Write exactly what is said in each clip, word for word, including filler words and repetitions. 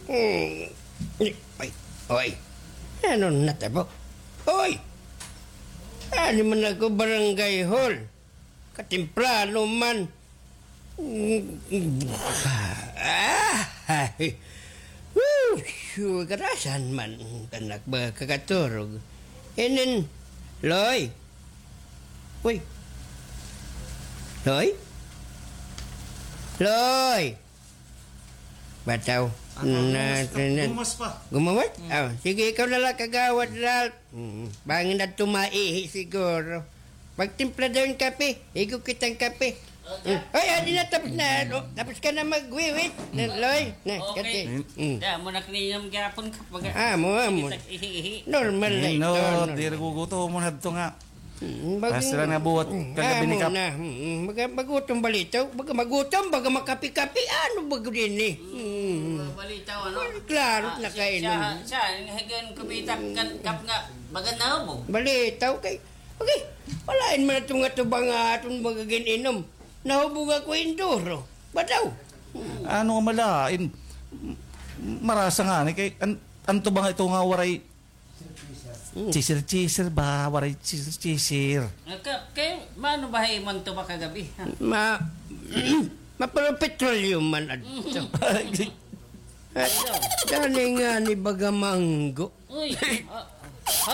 Hmm. Oy, oy. Ano natabo? Oy! Ano man ako barangay hall? Katemprano man. Ah, ay. Woo! Sure, karasan man. Tanak ba kakaturog? Inin, Loy. Uy. Loy? Loy! Bataw. Ano, na, gumas pa, na, na. Gumas pa. Gumawas? Hmm. Ah, sige, ikaw na lang kagawad, Ralph. Mm, bangin na tumaihi siguro. Magtimpla daw hin kape. Higo kitang kape. Okay. Mm. Ay, adi na, tapos na. Oh, tapos ka na magwiwit. Na, Loy. Na, okay. Kape. Mm. Da, mo na kaninom gihapon ka. Baga, ah, mo, mo. Kitag ihi-ihi. Normal na ito, no, normal. Diri ko gutom mo hadto nga. Mm, bag-, ah, sila nga buhat, mm, kagabi ni Kap. Amo na. Mm, mag-, magutom balitaw. Baga magutom, baga makapi-kapi. Ano ba gud ini? Mm, balitaw, ano? Klaro na kainom. Siya, siya, siya, ang higan kumita kan Kap nga, baga nahubog. Balitaw kay, okay. Wala man ato nga tubang nga aton magagin inom. Nahubog ako induro. Bataw. Ano nga malain? Marasa nga ni kay, an-, an tubang ito nga waray Mm. Chisir-chisir ba? Waray chisir-chisir. Ah, ka-, kay, maano ba hay man to ba kagabi? Ma-, mapapetroleum man adto. Ah, dani nga ni baga manggo. Uy, ah,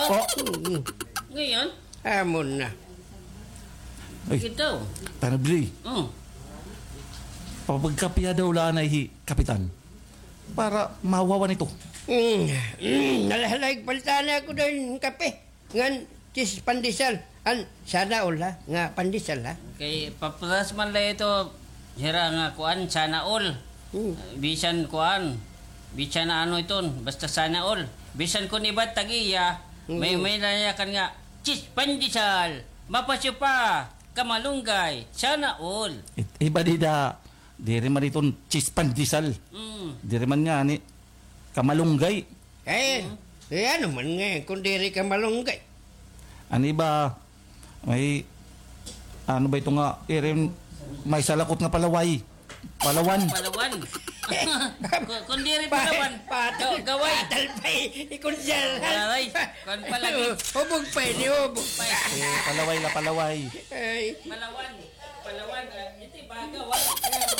ha? Oh. Mm. Ngayon? Amo na. Ay, ito. Tanabli. Mm. Papagkapiya daw la na hi Kapitan. Para mawawan ito. Mm, mm, nalahalag, palta na ako daw hin kape. Ngan, tis pandesal. An, sana all, ha? Nga pandesal, ha? Kay, paparas man la ito, hira nga kuan, sana all. Mm. Bisan kuan, bisan na ano iton, basta sana all. Bisan kun iba tag-iya, may, mm, may nayakan nga, tis pandesal, mapasyo pa, kamalunggay, sana all. It-, iba dida, Diri man iton tis pandesal. Mm. Diri man ngani kamalunggay. Eh, mm, eh, ano man nga, kun diri kamalunggay. An iba, may, ano ba ito nga, irin, may salakot nga palaway. Palawan. Palawan. Kun, kun diri pa-, palawan, patal-, ga-, gaway. Patal pa, eh. Ikon siya. Palaway. Kun palagi. Hubog pa, ini hubog pa. Eh, palaway la, palaway. Ay. Palawan. Palawan, ah, ito yung bagaw, ah.